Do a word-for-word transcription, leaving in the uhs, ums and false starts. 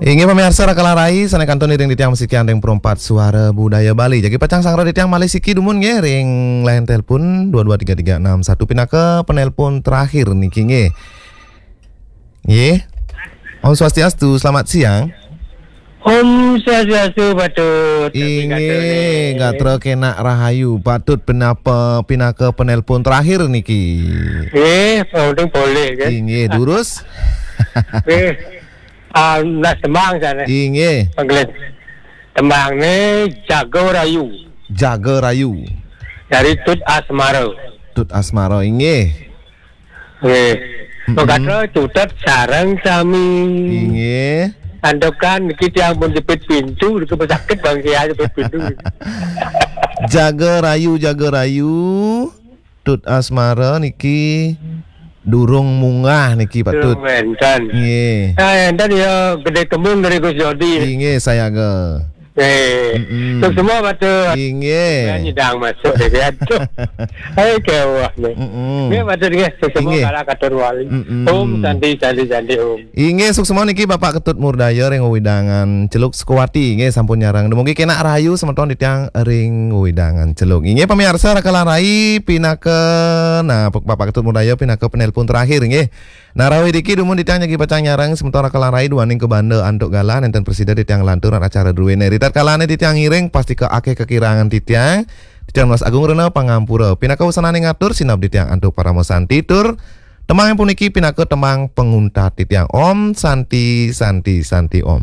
Inggih pamiarsa Raka lan Rai, sané kantun iring titiang masikian ring Perempat Suara Budaya Bali. Jagi pacang sareng titiang malih siki dumun nggih ring line telepon dua dua tiga tiga enam satu pinaka penelpon terakhir niki nggih. Nggih. Om Swastiastu, selamat siang. Om Swastiastu, Patut. Inggih, gatra kenak rahayu, Patut, pinaka, pinaka penelpon terakhir niki. Nggih, penting boleh kan. Inggih, durus. Nggih. Ah, nah, tembang sana. Inggih. Panggilan. Tembangné Jaga Rayu. Jaga Rayu. Dari Tut Asmara. Tut Asmara, inggih. Nggih. Mm-mm. Mengkatra cutet sareng sami. Inggih. Antukan niki tiang pun jepit pintu, niki sakit bang saya jepit pintu. Jaga Rayu, Jaga Rayu. Tut Asmara niki durung munggah niki, Patut. Durung wénten. Nggih. Nah, enten ya gedé kembung dari Gus Jodi. Inggih, sayaga. Nggih. Mm-mm. Terus semua Patut. Inggih. Ya, nyidang masuk deh, aduh. Hai, kewah nih. Mm-mm. Nggih, Patut nggih. Terus semua Inggih. Kalah katur wali. Mm-mm. Om Santi, Santi, Santi, Om. Inggih, suksma niki Bapak Ketut Murdaya ring wewidangan Celuk Sukawati. Inggih, sampun nyareng. Dumugi kenak rahayu semeton titiang ring wewidangan Celuk. Inggih, pamiarsa Raka lan Rai pinaka, nah, Bapak Ketut Murdaya pinaka penelpon terakhir, inggih. Nah, rawuh iriki dumun titiang jagi pacang nyareng semeton Raka lan Rai duaning kabanda antuk galah nénten prasida titiang lanturang acara druéné. Ritatkalané titiang ngiring pastika akéh kakirangan titiang. Titiang nunas agung rena pangampura. Pinaka wusananing atur sineb titiang antuk parama santi tur tembang puniki pinaka tembang panguntat titiang. Om Santi, Santi, Santi Om.